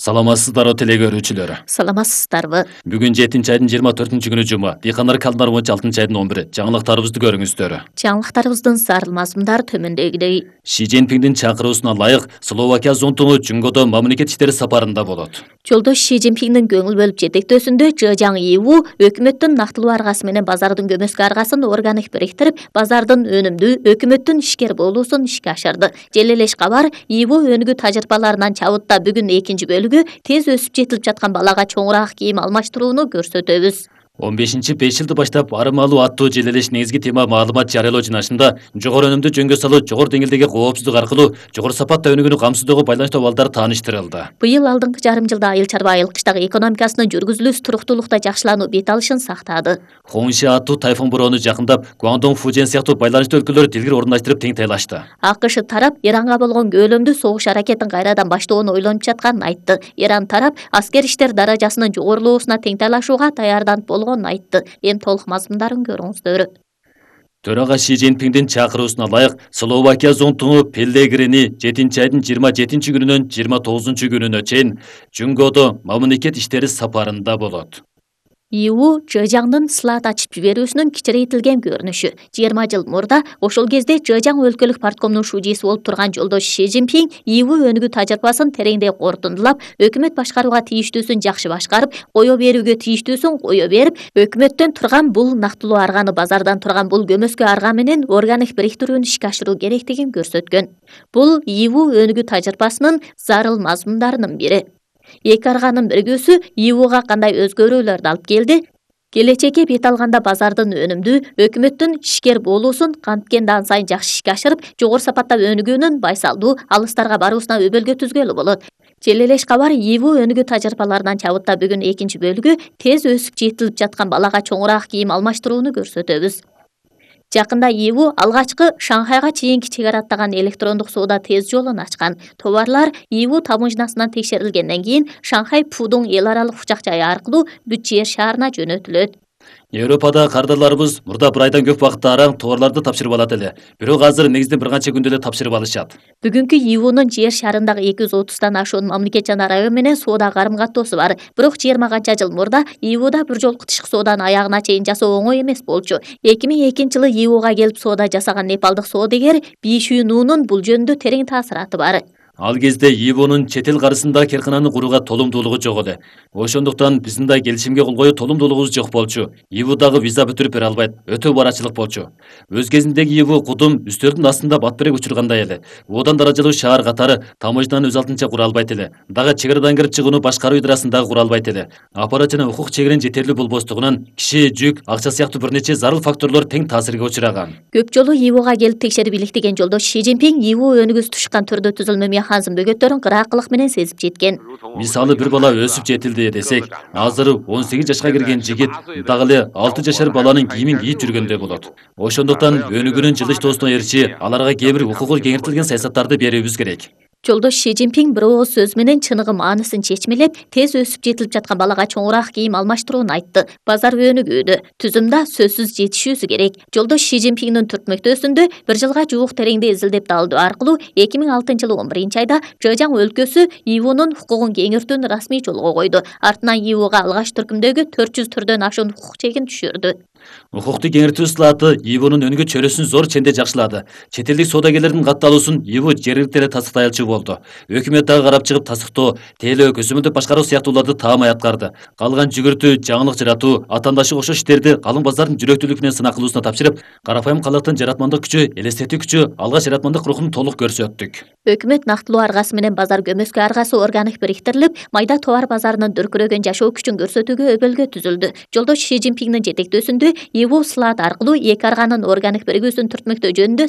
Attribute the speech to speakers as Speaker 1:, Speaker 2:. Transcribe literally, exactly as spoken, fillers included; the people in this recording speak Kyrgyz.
Speaker 1: Саламатсыздарбы теле көрүүчүлөр.
Speaker 2: Саламатсыздарбы.
Speaker 1: Бүгүн жетинчи айдын жыйырма төртүнчү күнү жума. Дыйкандар календарь боюнча алтынчы айдын он бири. Жаңылыктарыбызды көрүңүздөр.
Speaker 2: Жаңылыктарыбыздын зарыл мазмундары төмөндөгүдөй.
Speaker 1: Ши Цзиньпиндин чакыруусуна ылайык Словакия зонтугу Жунгодо мамлекет иштери сапарында болот.
Speaker 2: Жолдош Ши Цзиньпиндин көңүл бөлүп жетектөөсүндө Чжэжаң Иву өкмөттүн нактылуу аргасы менен базардын көмөскө аргасын органик бириктирип, базардын өнүмдүү өкмөттүн ишкер болуусун ишке ашырды. Желелеш кабар Иву өнүгүү тажрыйбаларынан чабытта бүгүн экинчи бөлүгү тез өсүп жетилип жаткан балага чоңураак кийим алмаштырууну көрсөтөбүз.
Speaker 1: он бешинчи беш жылды баштап арымалуу аттуу желелеш негизги тема маалымат жарыялоо жыйнашында жогору өнүмдү жөнгө салуу, жогору деңгээлдеги коопсуздук аркылуу жогору сапатта өнүгүүнү камсыздоого байланыштуу абалдар тааныштырылды.
Speaker 2: Быйыл алдыңкы жарым жылда айыл чарба айылкычтагы экономикасынын жүргүзүлүүсү туруктуулукта жакшылануу бет алышын сактады.
Speaker 1: Хонши аттуу тайфун бороону жакындап, Гуандong, Фужен сыяктуу байланыштуу өлкөлөр дилгир орундаштырып тең тайлашты.
Speaker 2: АКШ тарап Иранга болгон көлөмдүү согуш аракетин кайрадан баштоону ойлонуп жатканын айтты. Иран тарап аскер иштер даражасынын жогорулоосуна тең тайлашууга даярданып болгонун айтты. Эми толук мазмундарын көрүңүздөр.
Speaker 1: Төрага Ши Цзиньпиндин чакыруусуна ылайык Словакия зонтугу Пеллегрини жетинчи айдын жыйырма жетинчи күнүнөн жыйырма тогузунчу күнүнө чейин Жунгодо мамлекет иштери сапарында болот.
Speaker 2: Иву Чжэжаңдын слат ачып жиберүүсүнүн кичирейтилген көрүнүшү. жыйырма жыл мурда ошол кезде Чжэжаң өлкөлүк парткомдун шужиси болуп турган жолдош Ши Цзиньпин Иву өнүгүү тажрыйбасын тереңдей корутундулап, өкмөт башкарууга тийиштүүсүн жакшы башкарып, кое берүүгө тийиштүүсүн кое берип, өкмөттөн турган бул нактылуу арганы базардан турган бул көмөскө арга менен органик бириктирүүнү ишке ашыруу керектигин көрсөткөн. Бул Иву өнүгүү тажрыйбасынын зарыл мазмундарынын бири. Эки арганын биригүүсү Ивуга кандай өзгөрүүлөрдү алып келди? Келечекке бет алганда базардын өнүмдүү өкмөттүн ишкер болуусун канткен дан сайын жакшы ишке ашырып, жогору сапатта өнүгүүнүн байсалдуу алыстарга баруусуна өбөлгө түзгөлү болот. Желелеш кабар Иву өнүгүү тажрыйбаларынан чабытта бүгүн экинчи бөлүгү тез өсүп жетилип жаткан балага чоңураак кийим алмаштырууну көрсөтөбүз. Жакында Иву алгачкы Шанхайга чейинки чегара аттаган электрондук соода тез жолун ачкан. Товарлар Иву тамыжнасынан текшерилгенден кийин Шанхай Пудун эл аралык учак жайы аркылуу бүт жер шаарына жөнөтүлөт.
Speaker 1: Европада кардарларыбыз мурда бир айдан көп убакытта араң товарларды тапшырып алат эле. Бирок азыр негизинен бир канча күндө эле тапшырып алышат.
Speaker 2: Бүгүнкү Ивунун жер шарындагы эки жүз отуздан ашуун мамлекет жана район менен соода карым каттоосу бар. Бирок жыйырма канча жыл мурда Ивуда бир жолку тышкы сооданы аягына чейин жасоо оңой эмес болчу. эки миң экинчи жылы Ивуга келип соода жасаган непалдык соодагер Би Шүйнунун бул жөнүндө терең таасираты бар.
Speaker 1: Ал кезде Ивунун чет эл каршысында керкананы курууга толумдуулугу жок эле. Ошондуктан биздин да келишимге кол коюу толумдуулугубуз жок болчу. Ивудагы виза бүтүрүп бере албайт, өтө барачылык болчу. Өз кезиндеги Иву кудум үстөрдүн астында батберек учургандай эле. Одан даражалуу шаар катары тамыжнаны өз алдынча кура албайт эле. Дагы чегерадан кирип чыгууну башкаруу идерасын дагы кура албайт эле. Аппарат жана укук чегерен жетерлүү болбостугунан киши, жүк, акча сыяктуу бир нече зарыл факторлор тең таасирге учураган.
Speaker 2: Көп жолу Ивуга келип текшерип иликтеген жолдош Ши Цзиньпин Иву өнүгүүсү тушкан түрдө түзүлмө механизм бөгөттөрүн кыраакылык менен сезип жеткен.
Speaker 1: Мисалы бир бала өсүп жетилди десек, азыр он сегиз жашка кирген жигит дагы эле алты жашар баланын кийимин кийип жүргөндөй болот. Ошондуктан өнүгүүнүн жылыштоосуна эриши аларга кээ бир укугу кеңиртилген саясаттарды берүүбүз керек.
Speaker 2: Жолдош Ши Цзиньпин бир ооз сөз менен чыныгы маанисин чечмелеп, тез өсүп жетилип жаткан балага чоңураак кийим алмаштырууну айтты. Базар өнүгүүдө, түзүмдө сөзсүз жетишүүсү керек. Жолдош Ши Цзиньпиндин түртмөктөөсүндө бир жылга жуук тереңде изилдеп далдоо аркылуу эки миң алтынчы жылы он биринчи айда Чжэжаң өлкөсү Ивунун укугун кеңиртүүнү расмий жолго койду. Артынан Ивуга алгач түркүмдөгү төрт жүз түрдөн ашуун укук чегин түшүрдү.
Speaker 1: Укукту кеңиртүү слаты Ивунун өнүгүү чөйрөсүн зор ченде жакшылады. Чет элдик соодагерлердин катталуусун Иву жергиликтүү эле тасыктай алчу болду. Өкмөт дагы карап чыгып тасыктоо, тейлөө, көзөмөлдүп башкаруу сыяктууларды таамай аткарды. Калган жүгүртүү, жаңылык жаратуу, атаандашы окшош иштерди калың баздардын жүрөктүүлүгү менен сынак кылуусуна тапшырып, карапайым калктын жаратмандык күчү, элестетүү күчү, алгач жаратмандык рухун толук көрсөттүк.
Speaker 2: Өкмөт нактылуу аргасы менен базар көмөскө аргасы органик бириктирилип, майда товар базарынын дүркүрөгөн жашоо күчүн көрсөтүүгө өбөлгө түзүлдү. Жолдош Ши Цзиньпиндин жетектөөсүндө Иву слат аркылуу эки арганын органик биригүүсүн түртмөктөө жөнүндө